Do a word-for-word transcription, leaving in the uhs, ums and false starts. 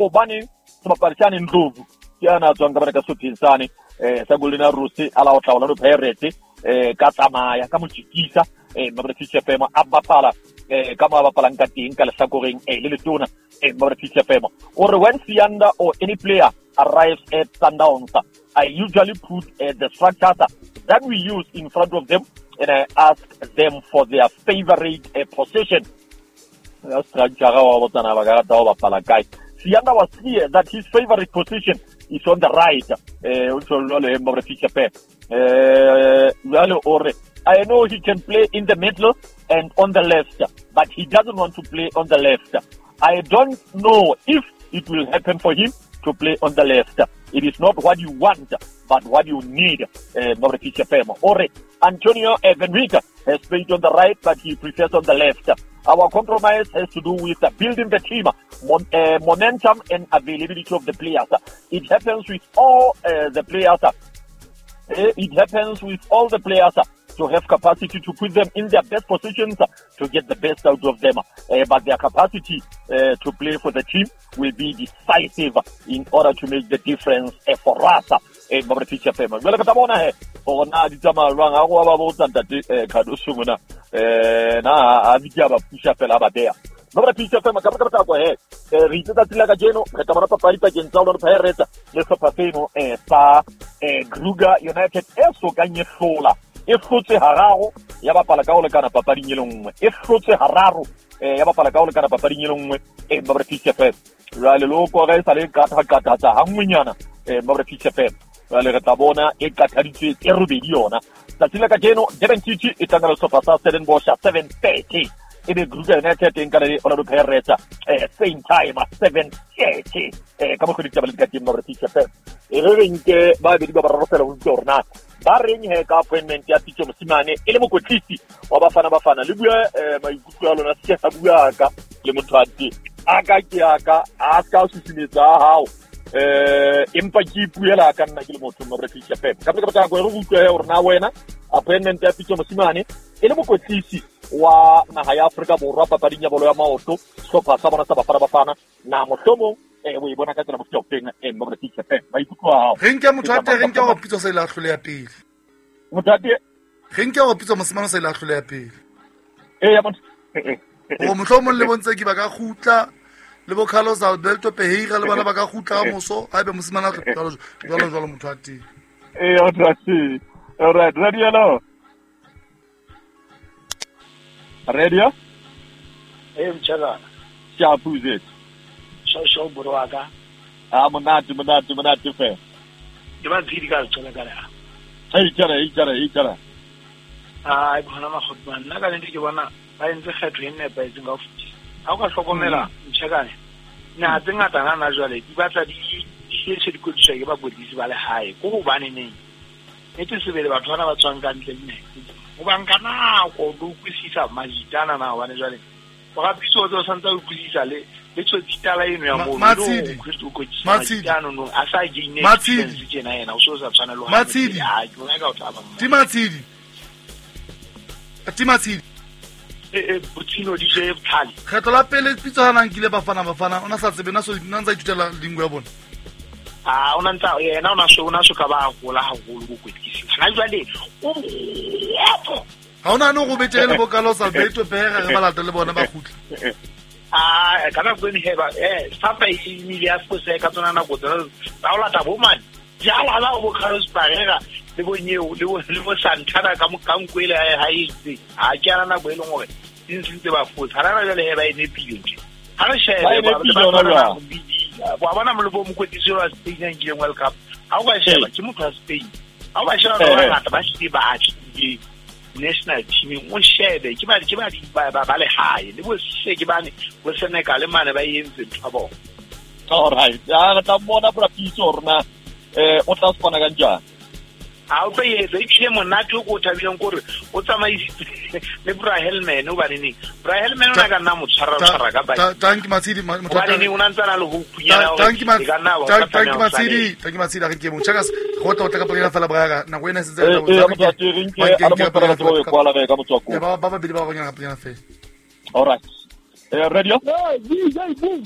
Hobane sebapadi sane Ndlovu ke ana tswang ka bana ka sehlopheng sane eh sa Golden Arrows a la otla Orlando Pirates eh ka tsamaya ka motjikisa eh Mabra F M a bapala eh ka mo bapalang ka teng ka lehlakoreng eh le letona eh Mabra F M o re when Siyanda or any player arrives at Sundowns, I usually put uh, the structures that we use in front of them and I ask them for their favorite uh, position. Siyanda was clear that his favorite position is on the right. I know he can play in the middle and on the left, but he doesn't want to play on the left. I don't know if it will happen for him to play on the left. It is not what you want, but what you need. Ore Antonio Evenrika has played on the right, but he prefers on the left. Our compromise has to do with building the team, mon- uh, momentum and availability of the players. It happens with all uh, the players. It happens with all the players to have capacity to put them in their best positions to get the best out of them. Uh, but their capacity uh, to play for the team will be decisive in order to make the difference uh, for us. Eh, jwale ka bona he hore na di tsamaya jwang ha go ba botsa ntate Khadoso mona eh na a bitsa ba pusha fela ba beya Mabra F M ka ka ka he re itse tsatsi la kajeno re tla bona papadi pakeng tsa Orlando Pirates le sehlopha seno eh sa eh Kruger United e sokang e hlola e hlotse hararo ya bapala ka ho lekana papading e le nngwe e hlotse hararo eh ya bapala ka ho lekana papading e le nngwe eh Mabra F M jwale loko re sa le qatha qatha tsa hangwenyana eh Mabra F M jwale re tla bona e qataditswe tse robedi yona tsatsi la kajeno Durban City e tlangana le sehlopha sa Stellenbosch seven thirty ebe Kruger United e nkana le Orlando Pirates eh same time seven thirty eh ka mokgwa ditaba le ka teng Mabra F M e re re nke ba bedi ba bararo fela ho utlwa hore na ba reng he ka appointment ya Pitso Mosimane e le mokwetlisi wa Bafana Bafana le bua maikutlo a lona se a bua ka le motho a teng a ka ke a ka a ska susumetsa hao eh empa ke ipuela ka nna ke le motho Mabra F M ka ka ka go re utlwe hore na wena appointment ya Pitso Mosimane e le mokwetlisi wa naha ya Afrika Borwa papading ya bolo ya maoto sehlopha sa bona sa Bafana Bafana na mohlomong eh o e bona ka tsela mofuta ofeng eh Mabra F M maikutlo a hao re nke motho a teng re nke hore Pitso sa ile a hloleha pele motho a teng re nke hore Pitso Mosimane sa ile a hloleha pele eh ya motho o mohlomong le bontse ke ba ka kgutla le bo Carlos Alberto Pereira le bana ba ka kgutla ka moso haebe Mosimane a jwalo jwalo jwalo motho a teng eh motho a teng all right radio hello radio eh mtshana siyabuze sho sho bro wa ka ah monate monate monate fe ke ba tsidi ka tsona ka la hey tsara hey tsara hey tsara ah bona magotma nna ka nnete ke bona ba entse kgetho e nepahetseng ka ho fetisa ha o ka hlokomela mtshakane naha tse ngata hana jwale di batla di di di ke bakwetlisi ba lehae ko hobane neng nnete sebele batho bana ba tswang ka ntle le o ba nka nako o utlwisisa majitana na hobane jwale o ga Pitso o santse o utlwisisa le le tsotsitala eno ya moo majitano no a sa gaine experience tjena yena o so sa tshwana le ha ke bona ka o tla ba Ti Matshidi Ti Matshidi e botsino di je botlhale kgetho la pele Pitso ha nang kile Bafana Bafana ona sa tsebe na so nna ntsa ithutela lingua ya bona ah ona ntsa yena ona so ona so ka ba hola haholo bokwetlisi ha jwale o kgopo ha ona no go betere le bo Carlos Alberto Pereira re ba lata le bona ba kgutla ah ka nako eno heba eh sapa e ile ya fose ka tsona nako tsena tsa o lata bo mane jala la bo Carlos Pereira le bo Nyeo le bo le bo Santana ka ka nkwele ha e itse ha ke ana nako e leng hore di ntse ba fose ha rana jwale heba e nepile ntle ha re shebe ba ba bona mo le bo mokwetlisi wa Spain a nkileng World Cup ha o ka sheba ke motho wa Spain ha o ba sheba ba bangata ba hlile ba atlile national team o shebe ke ba ke ba ba ba lehae le bo se ke bane bo Senegal mane ba entse ntho ya bona. All right ya re tla mmona bra Pitso rona eh o tla spona kanjani ha o tlo etsa ebile monate o ko thabileng kore o tsamaisitse le Bra Helman o baneng Bra Helman o na ka nna mo tshwara tshwara ka ba Thank you Matshidi motho o na ntse na le ho phunyana Thank you Thank you Matshidi Thank you Matshidi re ke mo chaka go tla o tla ka pela fela bra nako ena se tse ba ba ba babedi ba go nyana ka pela fela. All right eh radio D J Boom